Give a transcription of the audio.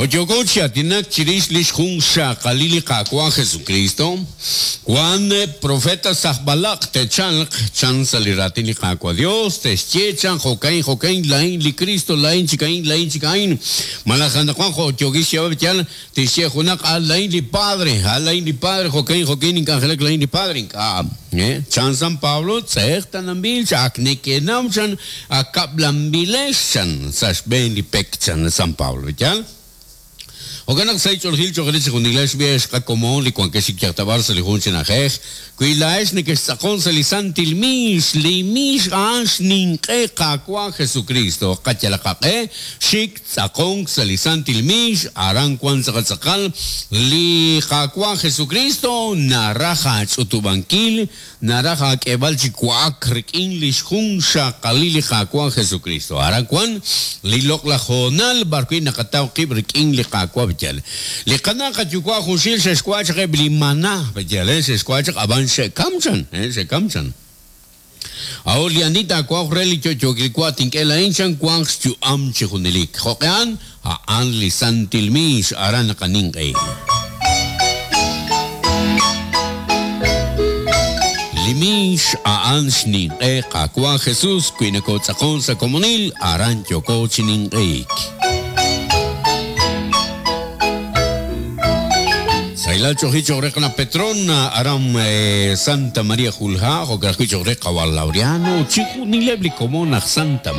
Jo' yooko chi aatinak chirix lix junxaqalil li Qaawa' Jesukristo, wan profetas aj b'alaq' te'chalq, chan sa' li raatin li Qaawa' Dios, te'xye, chan, Jo'ka'in, jo'ka'in, laa'in li Kristo, laa'in chik a'in, laa'in chik a'in. Malaj anaqwan jo' yookin xyeeb'al yal, tixye junaq, A laa'in li Padre, a laa'in li Padre, jo'ka'in, jo'ka'in nink'anjelak, laa'in li Padre. Ink'a'. Chan San Pablo, tz'eqtananb'il, chan, ak nekenaw, chan, Ak kab'lanb'ilex, chan, sa' xb'een li pek, chan San Pablo. Yaal? Jo'kan naq sa' ch'oolejil cho'q re chejunilex b'i' ex qakomon li wankex chi yajtab'al sa' li jun chi na'ajej, wi laa'ex nekextz'aqon sa' li santil miix, li miix a'an xninq'e Qaawa' Jesukristo, qayalaq qaq'e xik tz'aqonk sa' li santil miix, aran wan tz'aqal tz'aqal li Qaawa' Jesukristo naraj aach'utub'ankil Naraj aak'eeb'al chi wa'ak rik'in lix junxaqalil li Qaawa' Jesukristo. Aran wan li loq'laj hoonal b'ar wi' naqataw qib' rik'in li Qaawa' B'yal. Li qana' qayuwa' junxil xe'xwa' chaq eb' li mana, b'yal, xe'xwa' chaq ab'an xe'kam chan, xe'kam chan. A'ut li ani taawa'oq re li yo'yookil wa tink'e laa'in chan wanq xyu'am chi junelik. Jo'q'e a'an? A'an li santil miix aran naqaninq'ehi. Li miix a'an xninq'e Qaawa' Jesus wi nokotz'aqon sa' komonil aran yooko chi ninq'ehik. Sahilal ch'oji cho'q re qana' Petrona aran Santa María Julha, jo'kan ajwi' cho'q re qawa' Laureano, chijunileb' li komon aj Santa.